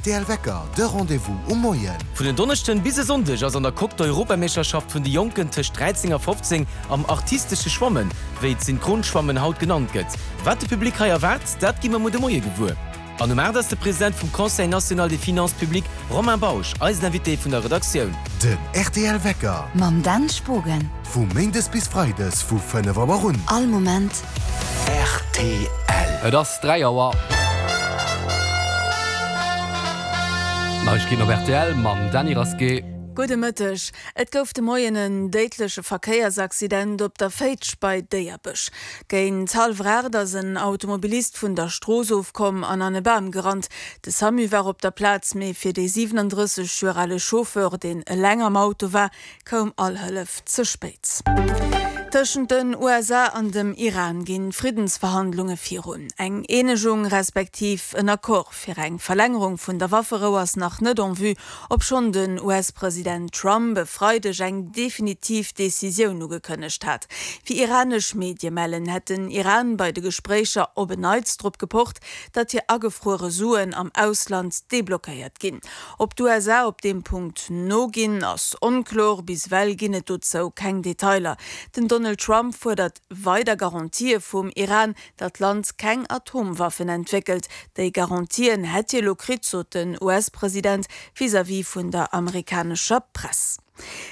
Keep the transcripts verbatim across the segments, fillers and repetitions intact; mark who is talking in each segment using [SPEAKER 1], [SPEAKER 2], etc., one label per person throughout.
[SPEAKER 1] rtl Wecker, de Rendez-vous um Moien.
[SPEAKER 2] Vun en Donneschden bis e Sonndeg ass an der Coque d'Europameeschterschaft vun de Jonken tëscht dräizéng a fofzéng am artistesche Schwammen, wéi d'Synchronschwammen haut genannt gëtt. Wat de Public hei erwaart, dat gi mer muer de Moie gewuer. An um aacht ass de President vum Conseil national des finances publiques Romain Bausch eisen Invité vun der Redaktioun.
[SPEAKER 1] Den rtl Wecker.
[SPEAKER 3] Mam Dan Spogen.
[SPEAKER 1] Vu méindes bis freides vu fënnef Auer un.
[SPEAKER 3] All Moment.
[SPEAKER 1] Rtl.
[SPEAKER 4] Et ass dräi Auer. Neiegkeeten op rtl mam Dany Rasqué.
[SPEAKER 5] Gudde Mëtteg. Et gouf de Moien en déidleche Verkéiersaccident op der Féitsch bei Déierbech. Géint hallwer aacht ass en Automobilist vun der Strooss ofkomm an an e Bam gerannt. De Samu war op der Plaz, mee fir dee siwenandrësseg Joer ale Chauffeur, deen eleng am Auto war, koum all Hëllef ze spéit. Tëschent den U S A an dem Iran ginn d'Friddensverhandlunge virun. Eng Eenegung respektiv en Accord fir eng Verlängerung vun der Wafferou ass nach net en vue, obschonn den U S-President Trump e Freideg eng definitiv Decisioun ugekënnegt hat. Wéi iranesch Medie mellen, hätt den Iran bei de Gespréicher op en Neits drop gepocht, datt hir agefruere Suen am Ausland deblockéiert ginn. Ob d'U S A op deem Punkt noginn, ass onkloer, bis ewell ginn et dozou keng Detailer. Den Donald Trump fuerdert weider Garantië vum Iran, datt d'Land keng Atomwaffen entwéckelt. Déi Garantien hätt hie lo kritt, sot den U S-President vis-à-vis vun der amerikanescher Press.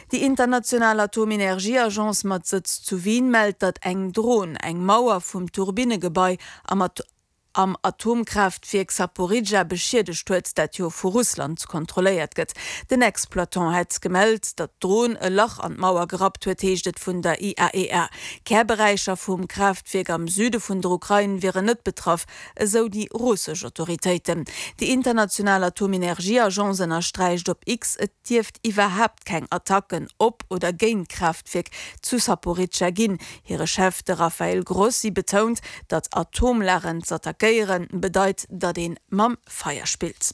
[SPEAKER 5] Déi international Atomenergieagence mat Sëtz zu Wien mellt, datt eng Dron eng Mauer vum Turbinnegebai am am Atomkraaftwierk Saporidschja beschiedegt huet, dat jo vu Russland kontrolléiert gëtt. Den Exploitant hätt gemellt, datt d'Dron e Lach an d'Mauer gerappt huet, heescht et vun der I A E A. Kärberäicher vum Kraaftwierk am Süde vun der Ukrain wieren net betraff, esou déi russesch Autoritéiten. Déi international Atomenergieagence ënnersträicht op X, et dierft iwwerhaapt keng Attacken op oder géint d'Kraaftwierk zu Saporidschja ginn. Hire Chef, de Rafael Grossi, betount, datt Atomlageren z'attackéieren bedeit, datt ee mam Feier spillt.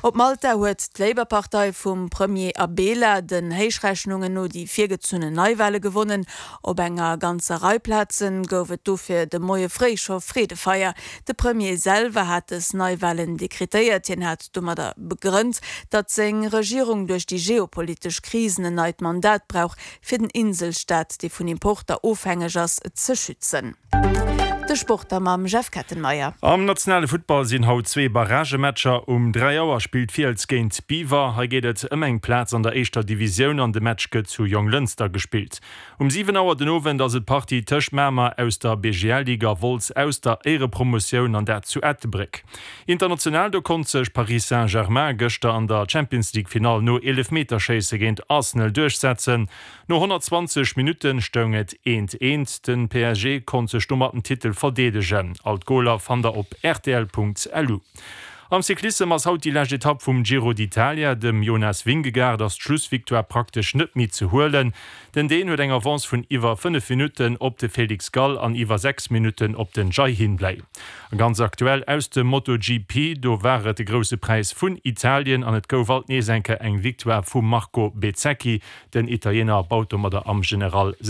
[SPEAKER 5] Op Malta huet d'Labour-Partei vum Premier Abela den Héichrechnungen no déi virgezunnen Neiwale gewonnen. Op enger ganzer Rei Plaze gouf et dofir de Moie fréi scho Freedefeier. De Premier selwer hat dës Neiwalen dekretéiert. Hien hat domadder begrënnt, datt seng Regierung duerch déi geopolitesch Krisen en neit Mandat brauch, fir den Inselstaat, dee vun Importer ofhängeg ass, ze schützen. De Sport da mam Jeff Kettenmeyer.
[SPEAKER 6] Am nationale Futtball sinn haut zwee Barragematcher. Um dräi Auer spillt Fiels géint Biwer. Hei geet et ëm eng Plaz an der éischter Divisioun an de Match gëtt zu Jonglënster gespillt. Um siwen Auer den Owend ass et d'Partie tëscht Mamer aus der B G L-Liga a Wolz aus der Éierepromotioun an dat zu Ettelbréck. International, do konnt sech Paris Saint-Germain gëschter an der Champions League Finall no Eelefmeterschéisse géint Arsenal duerchsetzen. No honnertzwanzeg Minutte stoung et eent eent. Den P S G konnt sech domat den Titel verdeedegen. All d'Goler fannt der op rtl Punkt L U. Am Cyclissem ass haut déi lescht Etapp vum Giro d'Italia. Dem Jonas Vingegaard ass d'Schlussvictoire praktesch net méi ze huelen. Den Dän huet eng Avance vun iwwer fënnef Minutten op de Felix Gall an iwwer sechs Minutten op den Jai Hindley. A ganz aktuell aus dem MotoGP, do war et de Grousse Präis vun Italien an et gouf alt nees eng Kéier eng Victoire vum Marco Bezzecchi. Den Italiener baut domadder am General seng